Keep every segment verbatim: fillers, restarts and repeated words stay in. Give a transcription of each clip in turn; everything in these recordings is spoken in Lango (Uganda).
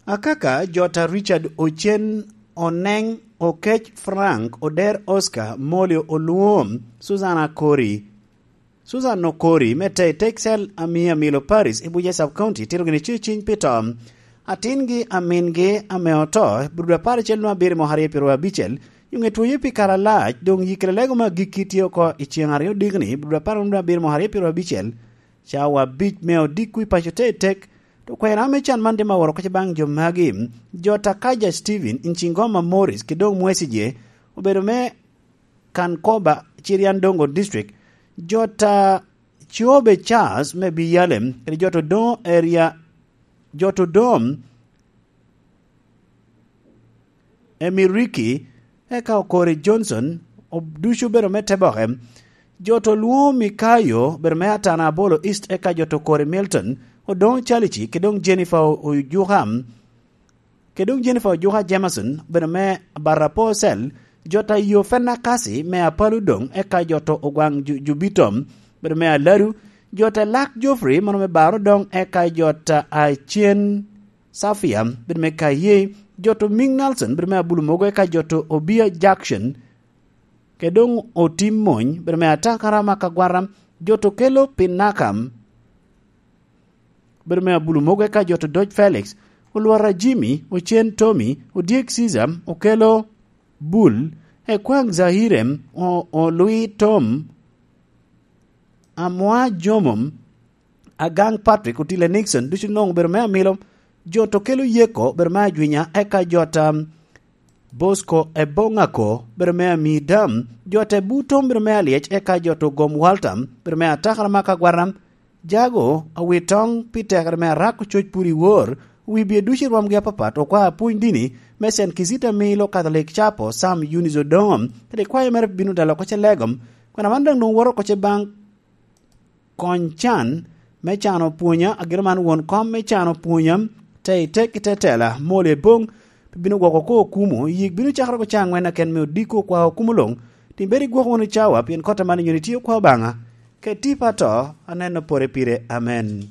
Akaka, jota Richard Ocen, Oneng Okec, Frank Oder, Oscar Molio Olwom, Susan Akori, Susan Okori me Tei Texel, Amia Milo Paris i Buja Sub County, tito gini ceciny pi to atingi amingi ame oto, brudo apar acel nwa abiro mok aryo pi rwa abicel, yunge twoyo pi kare alac, dong yikere lego me agikki tye oko i ceng aryo dikni, brudo apar nwa abiro mok aryo pi rwa abicel, cawa abic me odiko i paco te tek, to kwena me can man dima woro koce baŋ jo magi, jota Kaja Steven, Incingoma Morris, ki dong Mwesije, obedo me Kankoba, Chiriandongo District, jota Chobe Charles me Biyalem, kede jota Odongo Area, jota Odom, Emiriki, eka Okori Johnson, ob-, ducu obedo me Teboke, jota Olwongo Mikayo, obedo me Atana Abolo East, eka jota Okori Milton, Odongo Chalici, kede dong Jennifer Ojuka, kede dong Jennifer Ojuka Jameson, obedo me Barapo Cell, jota Yofena Kasi me Apalu dong, eka jota Ogwaŋ Ju-, Jubito, obedo me Aladu, jota Lak Geoffrey, mano me Baro dong, eka jota Acen Safia, bedo me Kaye, jota Ming Nelson, bedo me Abulu Mogo, eka jota Obia Jackson, kede dong Otim Mony, bedo me Atakara Makagwara, jota Okelo Pinakam, bedo me Abulu Mogo, eka jota Dodge Felix, Olwara Jimmy, Ocen Tommy, Odyek Caesar, Okelo Bul, Ekwaŋ Zahirem, O-, Olwi Tom, Amwa Jomom, Agaŋ Patrick, Otile Nixon, ducu nwoŋo obedo me Amilo, jota Okelo Yeko, obedo me Ajwinya, eka jota Bosco Eboŋako, obedo me Amidam, jota Ebutom, obedo me Alyec, eka jota Ogom Walter, obedo me Atakara Makagwara, Jago, Awitoŋ, pi tekere me Arak Ococ pur i wor, wi bie ducu i rwomgi apapat, okwa apwony dini, me Saint Kizito Amilo, Catholic Chapel, Sam Eunice Odongo, kede kwayo mere pi bino dalo oko ce legom, kwena man daŋ nwoŋo woto oko ce baŋ Kony can me can opwonya, ageno man won kom me can opwonya, te i tek i te tela, mol i boŋ, pi bino gwoko ko okumo, yik bino cakere oko ca aŋwen aken me odiko kwa okumo luŋ, tin bed igwoko wunu cawa, pien kotta man inyoni tye okwa Obaŋa, keti pa to, aneno pore pire. Amen.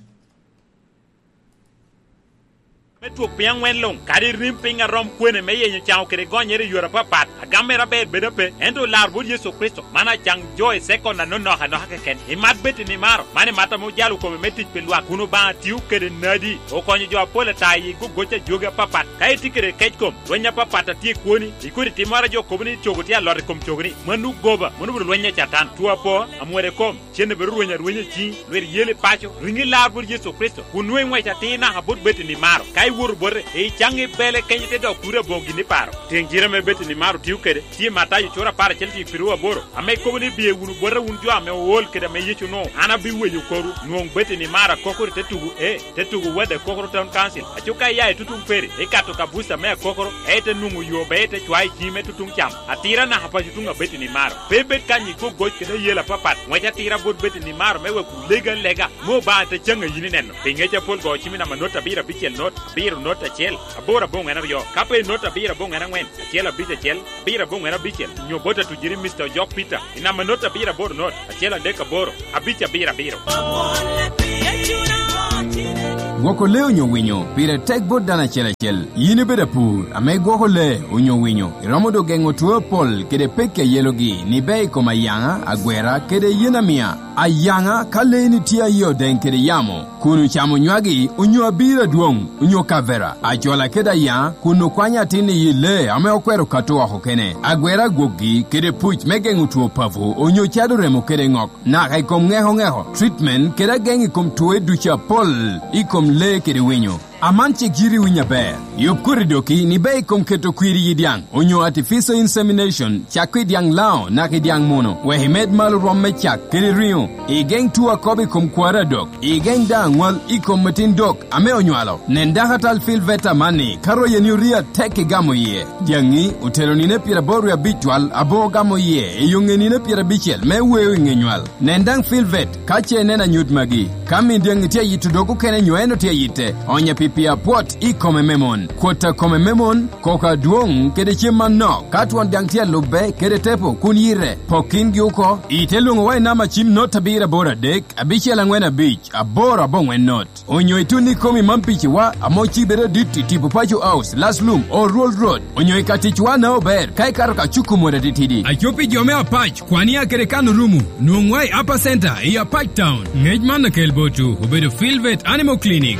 Me twok piny aŋwen luŋ, kadi rim piny a rom kwene me yenyo caŋo kede gonyere i yore apapat, agam mere aber bedo ape, ento olar bot Yecu Kricito, man acaŋ jo i sekon anonok anoka keken. Imat bed i nimaro, man imat ame ojalo kome me tic pi lwak, kun Obaŋa tio kede nadi, okonyo jo apol ata i gogoc a jogi apapat. Ka itye kede kec kom, lweny apapat a tye i kwoni, ikodi timmoro a jo kobo ni cogo tye alot i kom cogoni, mano goba, mano obedo lweny a Catan. Two apo, amwero i kom, cen obedo rweny arwenya i ciŋi, lwit yel i paco, riŋi lar bot Yecu Kricito, kun nwoŋo iŋwec atir naka bot bed i nimaro. Ka iwoto bote, icaŋ i bele kenyo te dok kuri aboŋo gin i paro. Tiŋ jire ame bed i nimaro tio kede, tye Matayo cura apar acel tiŋ piru aboro, ame kobo ni, "Biye wunu bota wun jo ame ool kede ame Yecu onwoŋo, an abiweyo korwu." Nwoŋo bed i nimaro akokoro i te tugo, ee, te tugo Wad Akokoro Town Council. Aco ka iya i tutuŋ Peri, ikato ka buca me Akokoro, ee, ite nwoŋo yo, be ite cwayo i ciŋi me tutuŋ cam. Atira naka paco tuŋ abed i nimaro. Pe bed kany i gogoc kede ayel apapat. Ŋwec atira bot bed i nimaro me wek olega alega, me Obaŋa te caŋ a yin ineno. Pi ŋec apol go cim i namba not abiro abicel not, abiro not acel, aboro aboŋwen aryo. Ka pe i not abiro aboŋwen aŋwen, acel abic acel, abiro aboŋwen abicel, nyo bot atujiri Mister Ojok Peter, i namba not abiro aboro not, acel adek aboro, abic abiro abiro. Gwoko lee onyo winyo pire tek bot dano acel acel. Yin ibedo apur ame igwoko lee onyo winyo, iromo dok geŋo two apol kede pekki a yelogi ni ber i kom ayaŋa, agwera, kede yen amia. Ayaŋa, ka leeni tye aye odeŋ kede yamo, kun ocamo nywagi, onyo abiro adwoŋ, onyo kavera, acola kede ayaŋa, kun okwanyo atin i yi lee ame okwero kato oko kene, agwera agwokgi, kede puc me geŋo two papo, onyo cado remo kede ŋok, naka i kom ŋeko ŋeko, treatment, kede ageŋ i kom two ducu apol i kom lee kede winyo. Aman cik yiti winyo aber. Yub koti doki ni ber i kom keto kwir i yi dyaŋ, onyo artificial insemination, cak i dyaŋ Laŋo naka i dyaŋ Muno, wek imed malo rwom me cak kede riŋo, igeŋ two a kobo i kom kwaro adok, igeŋ daŋ aŋwal i kom atin dok ame onywalo. Nen dakatal Filvet amanni, ka royeni orii atek igamo iye. Dyaŋi otelo nino pyeraboro wie abic twal aboŋo gamo iye i yo ŋe nino pyerabicel me weo i ŋe nywal. Nen daŋ Filvet ka ce ineno anyut magi. Ka min dyaŋi tye ayito dog okene nyo en otye ayitte, onye pi Pi apwot i kome me mon. Kwot a kome me mon, koko adwoŋ kede cem manok. Ka twon daŋ tye alubbe kede tepo kun yite, pok kingi oko. Ite lwoŋowa i namba cim not abiro aboro adek, abicel aŋwen abic, aboro aboŋwen not. Onyo itun i kom i mam piciwa, ame ocibe adit i tipo Paco House, Laslum, Oruol Road. Onyo i ka ticwa na ober, ka ikato ka cuku mot atitidi. Aco pi jo me Apac, kwania kede kan orumu, nwoŋwa i Upper Center, i Apac Town. Ngec man akel botwu, obedo Filvet Animal Clinic.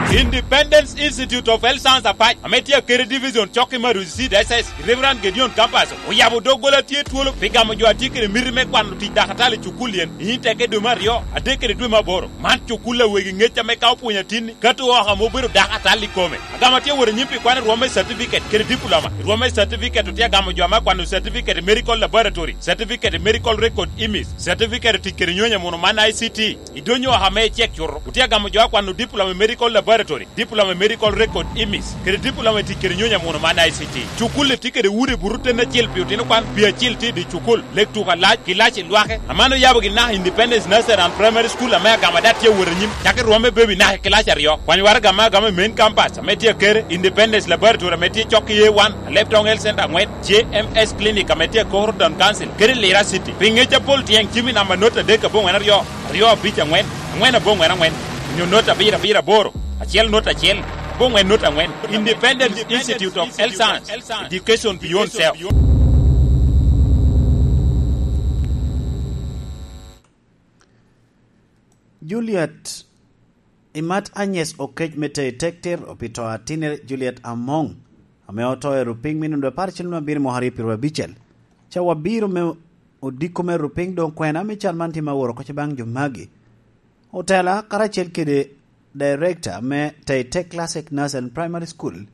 Independence Institute of Health Science Apac, ame tye akede division cok i Maruzi Seed S S, Reverend Gideon Campus, oyabo doggola tye twolo pi gamo jo a tye kede miti me kwano tic dakatal i cukul yen, i nyim teke dwe me aryo, adek kede dwe me aboro. Man cukul a wegi ŋec ame ka opwonyo atinni, kato oko ame obedo dakatal i kome. Agamo atye wot anyim pi kwano rwom me certificate kede diploma. Rwom me certificate otye agamo jo ame akwano certificate i medical laboratory, certificate i medical record image, certificate tic kede nyonyo amuno man I C T. I donyo oko ame icek cuto, otye agamo jo akwano diploma i medical laboratory, diploma i medical record image, kede diploma i tic kede nyonyo amuno man I C T. Cukul-li tye kede udi buto ten acel pi otino kwan, pi acil tye i dye cukul, lek tuko alac, kilac i lwake. Aman oyabo gin naka Independence Nursery and Primary School ame agamo adat tye awot anyim, cako i rwom me baby naka i kilac aryo. Kwany waraga ame agamo i main campus ame tye akere, Independence Laboratory ame tye cok i A one, Alebtong Health Center aŋwen, J M S Clinic ame tye i Koro Town Council, kede Lira City. Pi ŋec apol tyen cim i namba not adek aboŋwen aryo, aryo abic aŋwen, aŋwen aboŋwen aŋwen, onyo not abiro abiro aboro, acel not acel, aboŋwen not aŋwen. Independent Institute of Health Science, Education Beyond Self. Juliet Imat Agnes Okec me Tei Tekter opito atinere Juliet Among, ame oto i rupiny me nino apar cen abiro mwaka aryo pyeraryo abicel. Cawa biro me odiko me rupiny doŋ kwena me cal man tye ma woro oko baŋ jo magi. Otela karacel kede director me Tei Tech Classic Nursery and Primary School,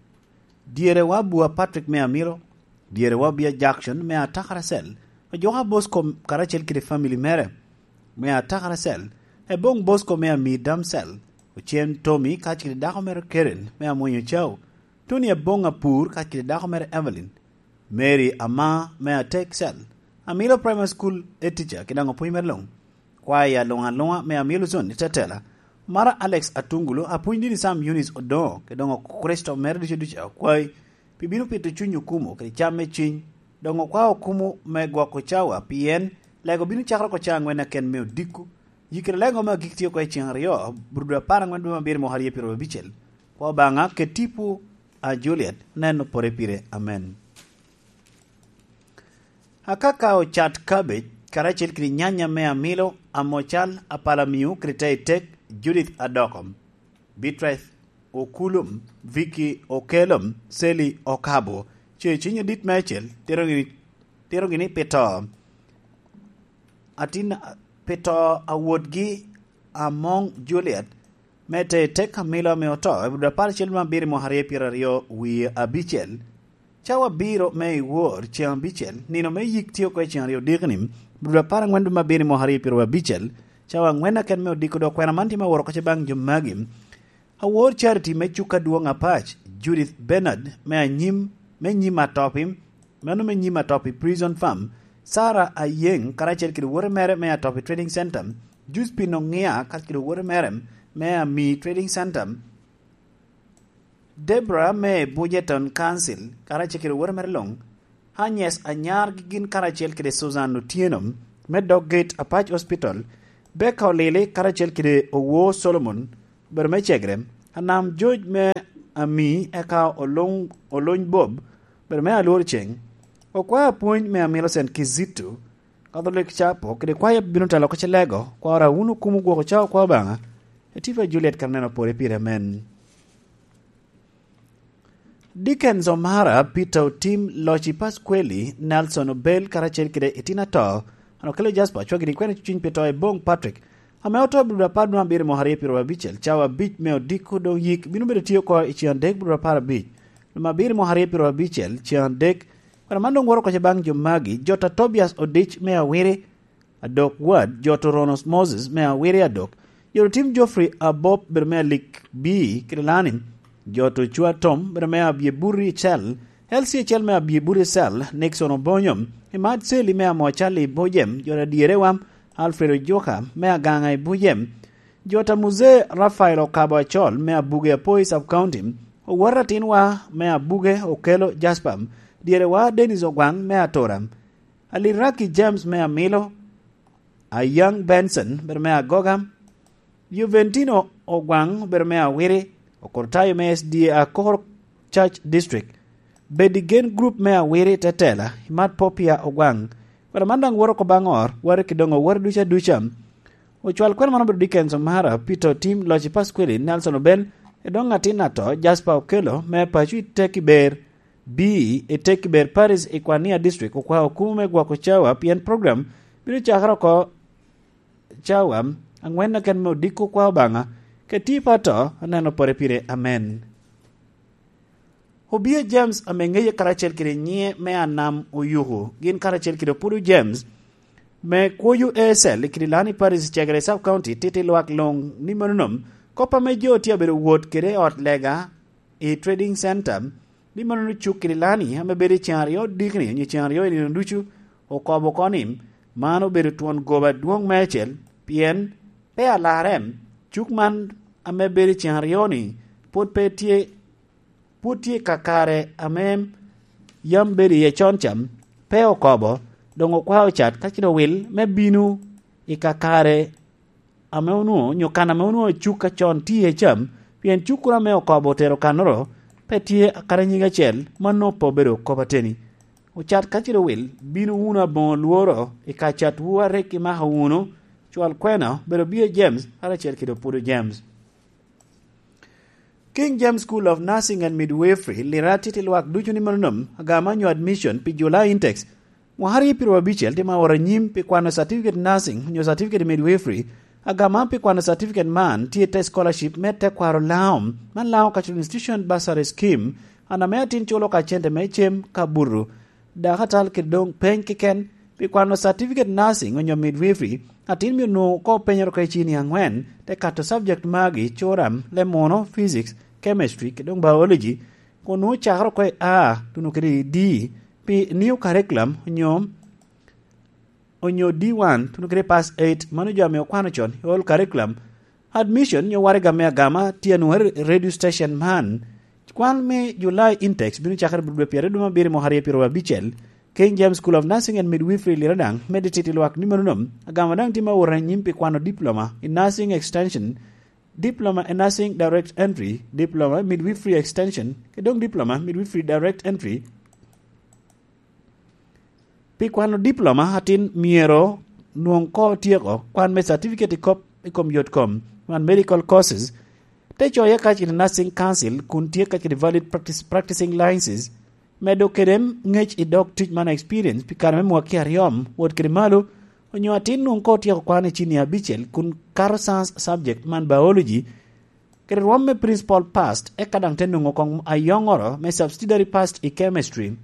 dyerewa Bua Patrick me Amilo, dyerewa Bia Jackson me Atakara Cell, ojoka Bosco karacel kede family mere me Atakara Cell, Ebong Bosco me Amir Dam Cell, Ocen Tommy kacel kede dako mere Karen me Amwonyo Cao, Tony Ebong Apur kacel kede dako mere Evelyn, Mary Ama me Atek Cell, Amilo Primary School e teacher kede daŋ opwony mere luŋ, kwaya luŋ aluŋa me Amilo Zone i Tetela, mara Alex Atungulu, apwony dini Sam Eunice Odoŋo, kede doŋ Kricito mere ducu ducu akwayi, pi bino pito cuny okumo kede cam me ciny, doŋ okwao okumo me gwoko cawa, pien lego bino cakere oko cawa aŋwen aken me odiko. Yikere lego me agik tye oko i ceŋ aryo, brudu apar aŋwen dwe me abiro mwaka aryo pyeraryo abicel. Kwa Obaŋa, ket tipo a Juliet, nen opore pire. Amen. Akaka ocat cabbage, karacel kede nyanya me Amilo, Amocal, Apalamio, kede Tei Tek, Judith Adoko, Beatrice Okulum, Vicky Okelum, Sally Okabo, ce ciny adit me acel, tito gini, tito gini pi to. Atin pi to a wotgi Among Juliet, me Tei Tek Amilo ame oto, i brudu apar acel me abiro mwaka aryo pyeraryo wie abicel. Cawa abiro me i wor ceŋ abicel, nino me yik tye oko i ceŋ aryo odikoni, brudu apar aŋwen dwe me abiro mwaka aryo pyeraryo abicel, cawa aŋwen aken me odiko dok kwena man tye me woro oko baŋ jo magi. Awor Charity me Cuka Dwoŋ Apac, Judith Bernard me anyim, me nyim Atopi, mano me nyim Atopi Prison Farm, Sarah Ayeng karacel kede wote mere me Atopi Trading Center, Josephine Oŋia karacel kede wote mere me Ami Trading Center, Deborah me Bujeton Council karacel kede wote mere luŋ, Agnes Anyar gin karacel kede Susan Otieno me dog gate Apac Hospital, Becca Olili karacel kede Owo Solomon, obedo me Cegre, Anam George me Ami, eka Olony, Olony Bob, obedo me Alwor Ceng, okwaya apwony me Amilo Saint Kizito, Catholic Chapel, kede kwaya bino telo oko Celego, kwara wun okumo gwoko cawa kwa Obaŋa, Etipa Juliet kara neno pore pire amen. Dickens Omara, Peter Otim, Loci Pasqueli, Nelson Obel, karacel kede Itina To, an okelo Jasper, cwaggi ni kwene cuciny pi to i Bong Patrick, ame oto i brudu apar dwe abiro mwaka aryo pyeraryo abicel, cawa abic me odiko doŋ yik bino bedo tye oko i ceŋ adek brudu apar abic, dwe abiro mwaka aryo pyeraryo abicel, ceŋ adek. Kwena man doŋ woro oko baŋ jo magi, Jota Tobias Odic me Awiri, Adok Wad, Joto Ronos Moses me Awiri Adok, Joto Tim Geoffrey Abop bedo me Alik B, Kirilani, Joto Cua Tom bedo me Abye Buri Cel, L C Cel me Abye Buri Cel, Nixon Obonyo, Imad Seli me Amo Cali Bojem, Joto Adyere Wam, Alfred Ojoka me Aganga i Bojem, Jota Muzee Rafael Okabo Acol me Abuge Apoi Sub County, Owot Atinwa me Abuge Okelo Jasper, Dyerewa Dennis Ogwaŋ me Atura, Aliraki James me Amilo, Ayaŋ Benson bedo me Agoga, Juventino Ogwaŋ bedo me Awiri, Okurtayo me S D A Akor Church District, Bedi Gen Group me Awiri Tetela, Imat Popia Ogwaŋ. Kwena man daŋ woto oko baŋ ot, wari ki doŋ owor duca duca. Ocwal kwena man obedo Dickens Omara, Peter Otim, Loci Pasquili, Nelson Obel, i doŋ atin ato, Jasper Okello, me paco i Tekiber B, i Tekiber Parish i Kwania District, okwao kumo me gwoko cawa, pien program bino cakere oko cawa aŋwen keken me odiko kwa Obaŋa, keti pa to, aneno pore pire. Amen. Obia James ame ŋeye karacel kede nyiŋe me Anam Oyuku, gin karacel kede Opudo James me Kwoyo A S L i Kidilani Parish, Cegere Sub County, titi lwak luŋ ni mano nom. Kop ame jo tye abedo wot kede i ot lega i Trading Center, ni mano ni cuk Kidilani ame bedo i ceŋ aryo dikni, onyo ceŋ aryo i nino ducu, okobo oko ni, man obedo twon goba adwoŋ meicel, pien pe alarre, cuk man ame bedo i ceŋ aryo-ni pwod pe tye pwod tye i kakare ame yam bedo iye con ca, pe okobo, doŋ okwao cat ka cito wil me bino i kakare ame onwoŋo, onyo kan ame onwoŋo cuk acon tye iye ca, pien cuk kuro ame okobo otero kannoro pe tye akadi nyiŋ acel, mano pe obedo kop ateni. Ocat ka cito wil, bino wunu aboŋo lworo i ka catwu a rik imako wunu, cwal kwena obedo Bia James, karacel kede Opudo James. King James School of Nursing and Midwifery lira titi lwak ducu ni mano nom, agama nyo admission pi July intakes. Mwaka aryo pyeraryo abicel tye ma owot anyim pi kwano certificate nursing nyo certificate midwifery, agama pi kwano certificate man tye te scholarship me tekwaro Laŋo, man Laŋo Cultural Institution Bursary Scheme, an ame atin culo ka cente me cem ka buto. Dakatal kede doŋ peny keken pi kwano certificate nursing onyo midwifery, atin myero nwoŋo koŋ openyere oko i cini aŋwen, te kato subject magi, curam, lemuno, physics, chemistry, kede doŋ biology, kun nwoŋo cakere oko i A tuno kede i D pi new curriculum onyo, onyo D one tuno kede pass eight, mano jo ame okwano con i old curriculum. Admission nyo waraga me agama tye anwoŋere i radio station man. Kwan me July intakes bino cakere i dwe pyeraryo dwe me abiro mwaka aryo pyeraryo abicel. King James School of Nursing and Midwifery lira daŋ medde titi lwak ni mano nom, agama daŋ tye ma owot anyim pi kwano diploma in nursing extension, diploma in nursing direct entry, diploma in midwifery extension, kede doŋ diploma in midwifery direct entry. Pi kwano diploma atin myero nwoŋ koŋ otyeko kwan me certificate i kop i kom yot kom, man medical courses, te coye kacel i Nursing Council kun tye kacel i valid practice, practicing licenses, medo kede ŋec i dog tic man experience pi kare me mwaki aryo wot kede malo, onyo atin nwoŋ koŋ otyeko kwan i cini abicel kun kato science subject man biology, kede rwom me principal past, eka daŋ te nwoŋo koŋ ayoŋoro me subsidiary past i chemistry.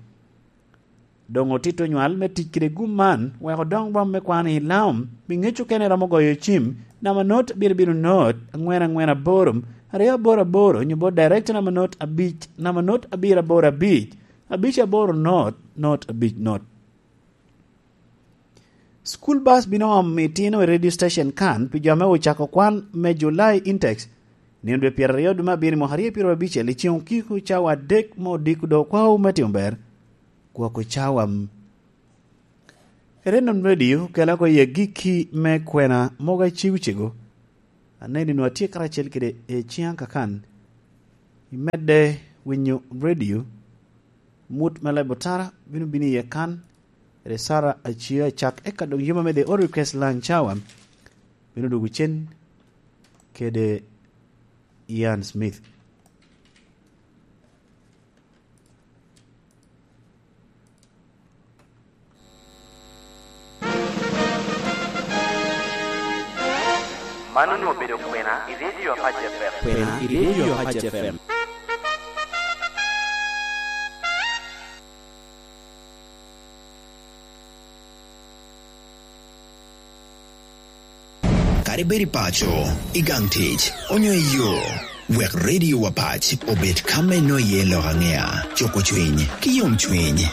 Doŋ otito nywal me tic kede gum man, wek odoŋ rwom me kwano i Laŋo, pi ŋec okene romo goyo cim, namba not abiro bino not, aŋwen aŋwen aboro, aryo aboro aboro, onyo bot director namba not abic, namba not abiro aboro abic, abic aboro not, not abic not. School bus bino omo itino i radio station kan pi jo ame ocako kwan me July intakes, nino dwe pyeraryo dwe me abiro mwaka aryo pyeraryo abicel i ceŋ okiko cawa adek me odiko dok okwawu me timo ber. Gwoko cawa. Renon Radio kela oko i agikki me kwena mogo acego cego. Aneni nwa tye karacel kede i ciŋ kakan. Imedde winyo radio, mut me leb otara bino bino iye kan, kede Sara Acia acak, eka doŋ yuma me The All Request Line Cawa bino dwogo cen kede Ian Smith. Man onwoŋo obedo kwena i Radio Apac F M. Kwena i Radio Apac F M. Kadi bed i paco, i gang tic, onyo i yo, wek Radio Apac obed ka me nwoŋo iye lok aŋea, cuko cwiny, ki yomcwiny.